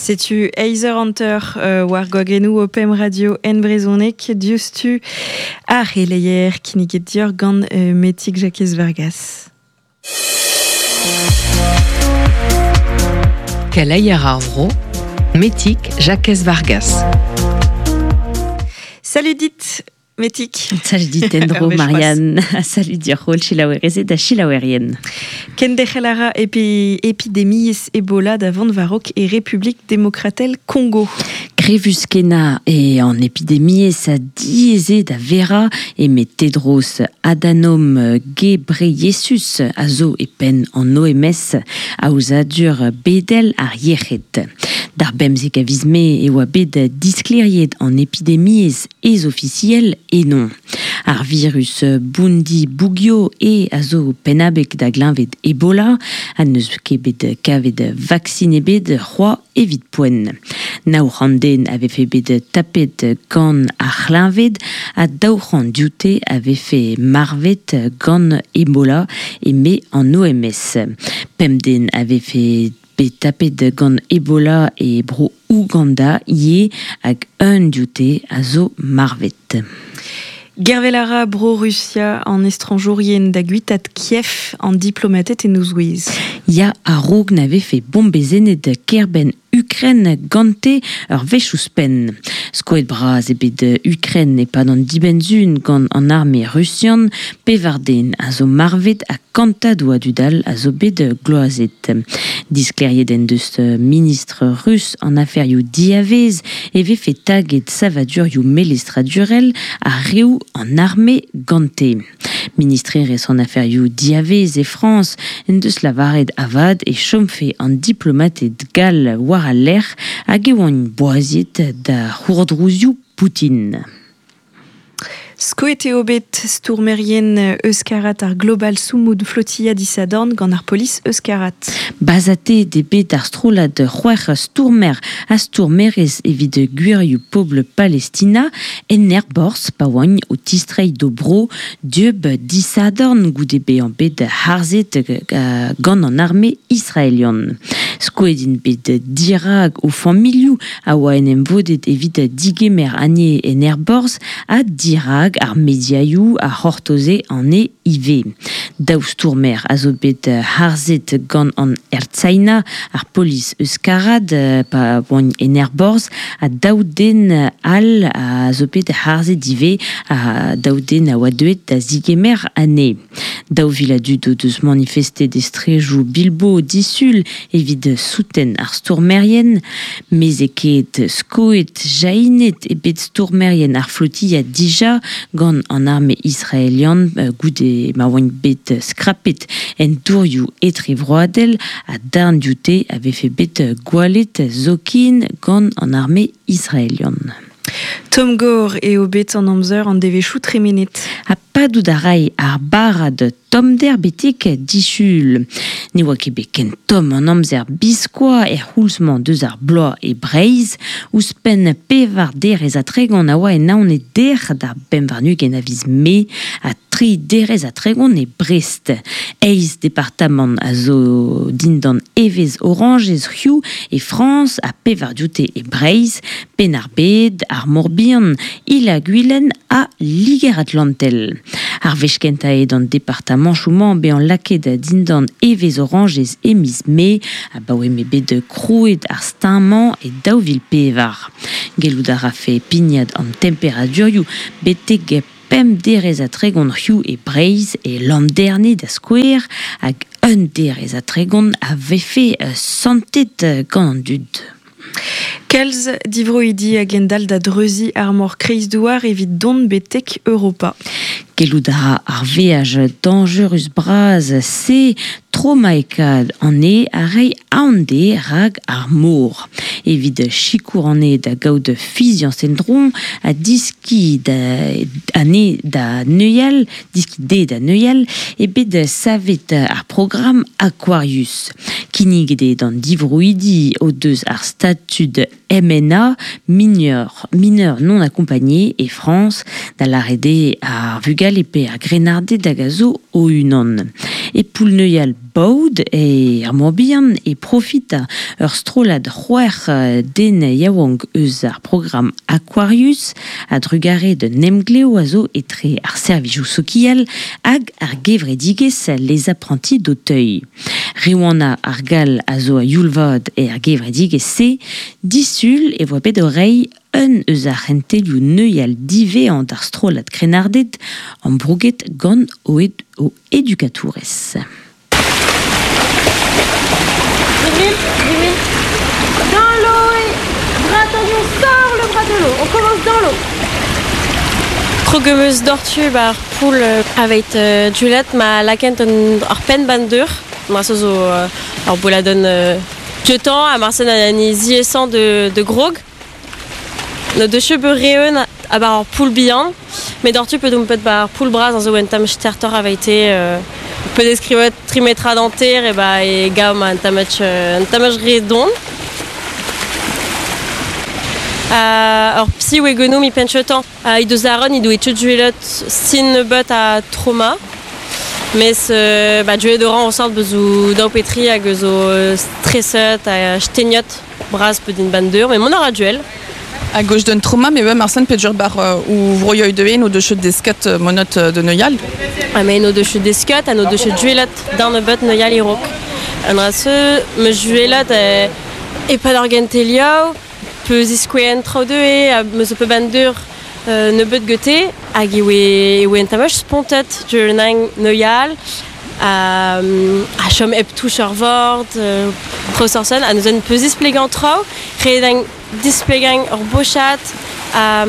Setu eizh eur hanter war gwagennoù ho pemp radio en brezhoneg diouzhtu ar c'heleier kinniget deoc'h gant Metig Jakez Vargas. Keleier ar vro, Metig Jakez Vargas. Salut dit, Metig. Salut dit en-dro, Marianne. Salut dir holl selaouerezed ha selaouerien. Kenderc'hel a ra epi epidemiezh Ebola da vont war-raok e Republik Demokratel Kongo. Grevus-kenañ eo an epidemiezh diaes eo da verañ eme Tedros Adhanom Ghebreyesus a zo e penn an OMS, aozadur bedel ar yec'hed. D'ar bemzek a viz Mae e oa bet disklêriet an epidemiezh ez-ofisiel eno. Ar virus Bundibugyo eo a zo pennabeg da gleñved Ebola ha n'eus ket bet kavet vaksin ebet c'hoazh evit poent. Nav c'hant den a vefe bet tapet gant ar c'hleñved ha 200 dioute a vefe marvet gant Ebola eme an OMS. Pemp den a vefe bet tapet gant Ebola e bro Ouganda ivez hag un dioute a zo marvet. Gervel a ra Bro-Rusia an estrañjourien da guitaat Kiev an diplomated en o zouez. Ya, a-raok na vefe bombezennet kêr-benn Ukren gante ur wech ouzhpenn. Skoet bras eo bet Ukren e-pad an dibenn-sizhun gant an arme rusian. Pevar den a zo marvet ha kantadoù a dud all a zo bet gloazet. Disklêriet en deus ministr rus an aferioù diavaez e vefe taget savadurioù melestradurel ha reoù an arme gante. Ministrerezh an aferioù diavaez e Frañs en deus lavaret avat e chomfe an diplomated gall war al lec'h hag e oant boaziet da c'hourdrouzioù Poutine. Skoet eo bet stourmerien euskarat ar Global Sumud Flotilla disadorn gant ar polis euskarat. Bazatet eo bet ar strollad c'hwec'h stourmer ha stourmerez evit gwirioù pobl Palestina en aerborzh pa oant o tistreiñ d'o bro dieub disadorn goude bezañ bet harzet gant an arme israelian. Skoet int bet dirak o familhoù a oa en em vodet evit digemer anezhe en aerborzh ha dirak ar mediaioù a c'hortoze anezhe ivez. Daou stourmer a zo bet harzet gant an Ertzaina, ar polis euskarad, pa oant en aerborzh, ha daou den all a zo bet harzet ivez, ha daou den a oa deuet da zigemer anezhe. 2000 a dud o deus manifestet e strejoù Bilbo disul evit souten ar stourmerien. Mezekaet, skoet, jahinet eo bet stourmerien ar flotilla dija gant an arme israelian goude ma oant bet skrapet en dourioù etrevroadel ha darn dioute a vefe bet gwallet zoken gant an arme israelian. Tomm-gor eo bet an amzer an devezhioù tremenet. Ha padout a ray ar barrad tommder betek disul. Ne oa ket bet ken tomm an amzer biskoazh er c'houlz-mañ deus ar bloaz e Breizh. Ouzhpenn pevar derez ha tregont a oa en Naoned dec'h d'ar bemp warn-ugent a viz Mae ha tri derez ha tregont e Brest. Eizh departamant a zo dindan evezh orañjez hiziv e Frañs ha pevar dioute e Breizh, Penn-ar-Bed, ar Mor-Bihan, Il-ha-Gwilen ha Liger-Atlantel. Ar wech kentañ eo d'an departamanchoù-mañ bezañ lakaet dindan evezh orañjez e miz Mae, abaoe m'eo bet krouet ar steuñv-mañ e 2004. Gellout a rafe pignat an temperadurioù betek pemp derez ha tregont hiziv e Breizh, e Landerne da skouer, hag un derez ha tregont a vefe santet gant an dud. Kalz divroidi a gendalc'h da dreuziñ ar mor Kreizdouar evit dont betek Europa. Gellout a ra ar veaj dañjerus-bras se tromaekaat anezhe ha reiñ aon dezhe rak ar mor. Evit sikour anezhe da gaout fiziañs en-dro ha diskiñ anezhe da neuial, diskiñ dezhe da neuial, eo bet savet ar programm Aquarius. Kinniget eo d'an divroidi o deus ar statud MNA, mineur, mineur non accompagné, e Frañs, da lâret eo ar vugale pe ar grennarded hag a zo o-unan. E poull-neuial Baod e ar Morbihan e profita ur strollad c'hwec'h den yaouank eus ar programm Aquarius a-drugarez d'un emglev a zo etre ar servijoù sokial hag ar gevredigezh Les Apprentis d'Auteuil. Riwana ar Gall a zo a-youl vat er gevredigezh-se. Disul e voa bet o reiñ un eus ar c'hentelioù neuial diwezhañ d'ar strollad krennarded ambrouget gant o, o edukatourez. Dans l'eau et bras tendu, on sort le bras de l'eau. On commence dans l'eau. Krog em eus doc'htu ba ar poull aveit Juliette ma lakaent un ar penn ban deur. Marse zo ur bouladenn dioutañ ha marse an ziaesañ de grog. No deus ket bet re-eun a-bar ur poull bihan, met doc'htu pe domp bet ba ar poull bras a zo un tamm stertoc'h aveite. Pe deskrivet tri metrad hanter e ba e gav ma un tammig un tammig re don. Ur psi oe genomp e penn-cheutañ. He deus Aaron he doe tud sin nebeut ha trauma. Mes ba deuet orañ o sort bezo daou pe tri hag eus o streset ha stegnet bras pe din ban deur, met mont a ra duel. A gauche d'un trauma, mais ouais, Marcel pedur bar ou vroioù de no deus desket monot de neuial. Ha me no deus desket ha no deus duelet d'an nebeut neuial e-raok. An dra-se, me juelet e-pad ar gentelioù, peus iskoueen traoù deuet, ha meus pe ban deur nebeut gete, hag e oe un tamm spontet deuet neuial, ha chom hep touch ar vord, traoù sorsen, ha neuzen peus displegañ traoù, ret eo displegañ ur bochad, ha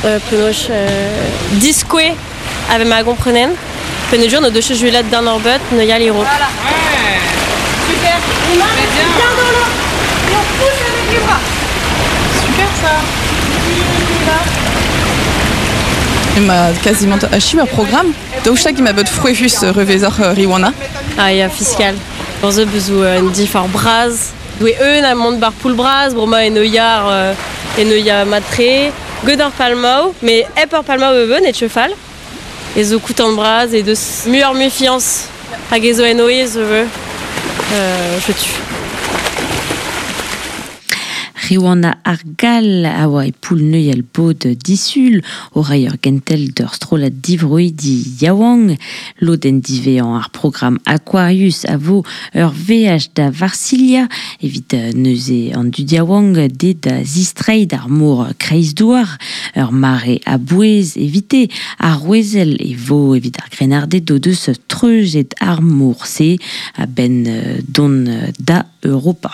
penaos diskoue ave ma gomprenen, penaos no deus juelet d'an ur beut neuial e-raok. Voilà. Ouais. Super. Bien. Bien dans l'eau. Et on pousse avec les bras. Super ça. Ma quasiment achiv ar programm. Daoust hag ema bet frouezhus revezoc'h Riwana? Ah ya, fiskal. Ur bezo un difor bras. Doue eun a mont bar poull bras, bremañ en yar en ya mat-tre. Get ar palmaou, mais hep ar palmaou e e teu fall. E zo koutant bras e deus muioc'h mui fiañs hag e zo en oe zo je tue. Riwana ar Gall a oa e poull neuial bod disul o reiñ ur gentel d'ur strollad divroidi yaouank. Lodenn diwezhañ ar programm Aquarius a vo ur veaj da Varsilha evit neuze an dud yaouank de da zistreiñ d'ar mor kreizdouar. Ur mare a-bouez evite ar rouezel e vo evit ar grennarded o deus treuzet ar mor-se a-benn dont da Europa.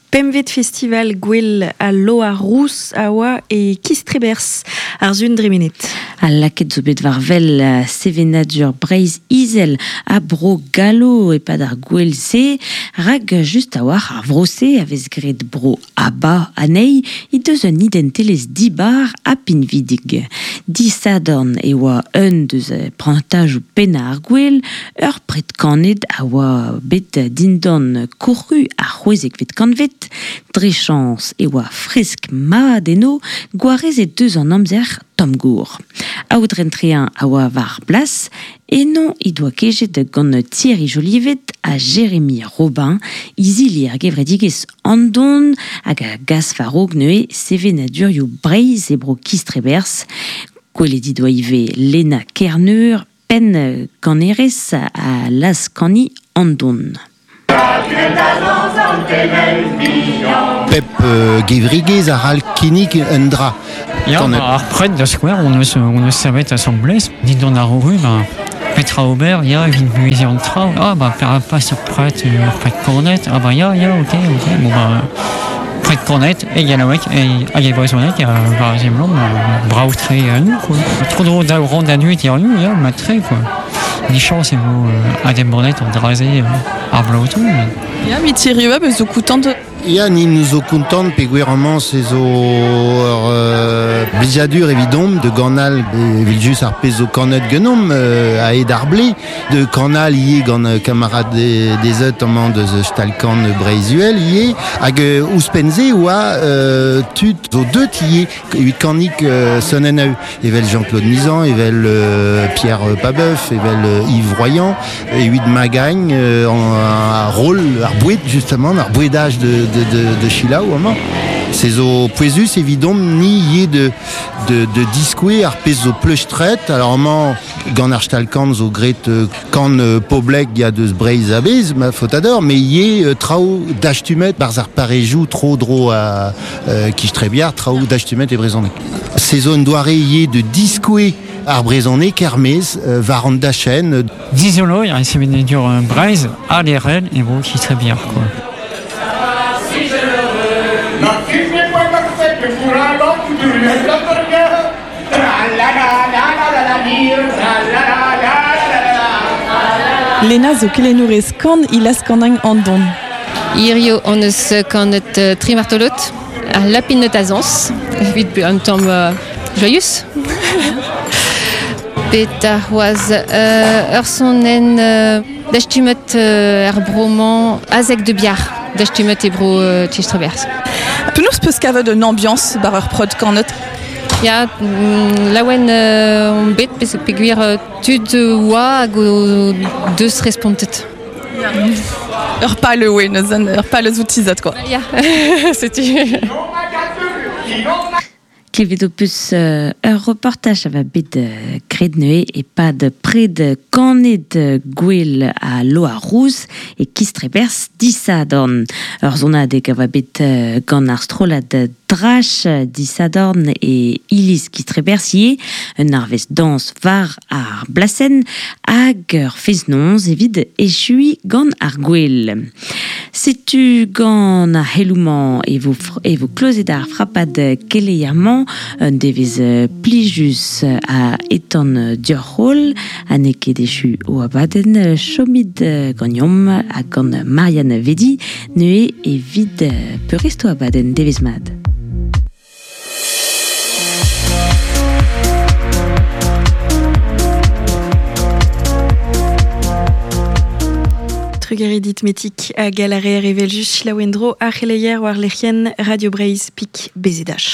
Pempvet festival Gouel al Loar Rous a oa e Kistreberzh ar sun dremenet. Ha lakaet zo bet war wel sevenadur Breizh Izel ha Bro Gallo e-pad ar gouel-se, rak just a-walc'h ar vro-se a vez graet Bro Abba anezhi he deus un identelezh dibar ha pinvidik. Disadorn e oa un deus prantajoù pennañ ar gouel, ur pred kanet a oa bet dindan koc'hu ar c'hwezekvet kantved. Dre chañs e oa fresk mat eno, gwarezet deus an amzer tomm-gour. Aodren Trein a oa war blas, eno he doa kejet gant Thierry Jolivet ha Jérémy Robin, izili ar gevredigezh Andon hag a gas war-raok neuze sevenadurioù Breizh e bro Kistreberzh. Gwelet he doa ivez Lena Kerneur, penn kanerez ha laz-kaniñ Andon. Pep gevredigezh a c'hall kinnig un dra. Ya, ba, ar pred da skouer, on eus savet asambles, dindan ar ru, ba, petra ober, ya, evit buheziñ an traoù. Ah, ba, perak pas ur pred kornet, ah ba ya, ya, ok, ok, bon ba, pred kornet, e gallaoueg, hag e brezhoneg, war a seblant, brav-tre nous, quoi. Tro-dro daou rand a dud hiziv, ya, mat-tre, quoi. Dichañs e vo adembannet an dra-se ar bloaz o tont. Ya, met Thierry Web zo koutant. Ya, ni nous zo kontant pe gwir amañ se zo ur blijadur evidomp de ganal evit just ar pezh zo kanet genomp a ed ar ble de kanal ie gant kamarad des eut amañ deus stalkan Breiz-Uhel ie hag ouzhpenn-se oa tud zo deut ie evit kanik sonnen a evel Jean-Claude Nizan, evel Pierre Pabeuf, evel Yves Royan, evit Magagn an rôle ar boued justement, ar bouedage de Chilaou amañ. Se zo pouezus evidomp ni ie de diskoue ar pezh zo pleustret, alors amañ gant ar stal-kan zo gret kan poblek ya deus Breiz a-bez, ma faotador, mais ie traoù dastumet barz ar parejou tro dro a Kistrebiar, traoù dastumet e brezhoneg. Se zo un doare ie de diskoue ar brezhoneg kermez war an dachen. Dizolo, ar sevenadur Breiz, a l'erel e vo Kistrebiar, quoi. Lena zo kelennourez kan ilaz kanagn an don. Hirio hon eus kanet tri martolot, ar lapinot a zañs, evit un tamm joyous. Bet ar c'hoazh ur sonenn dastumet er bro-mañ azek de biar, dastumet e bro Tistreberzh. Penaos peus kavet un ambiance bar ur prod kanet? Ya, laouen on bet peogwir tud oa hag o deus respontet. Ur pal oe neuzen, ur pal eus outizat quoi. Ya, setu. Klevet ho peus ur reportaj a va bet graet neuze e-pad pred kanet gwell a Loa Rouz e Kistreberzh disadorn. Ur sonadeg a va bet gant ar strollad Drach disadorn e iliz Kistreberzh ivez, un arvest dañs war ar blasenn hag ur fest-noz evit echuiñ gant ar gwel. Setu gant ar c'heloù-mañ e vo klozet ar frapad keleier-mañ, un devezh plijus a etan dioc'h-holl, ha n'eo ket echu o abadenn chomit ganeomp ha gant Marianne Vedi neuze evit peurresto abadenn devezh mat. Trugaredit metik hag a lârer evel just selaou en-dro ar c'heleier war lec'hienn Radio Breizh pik BZH.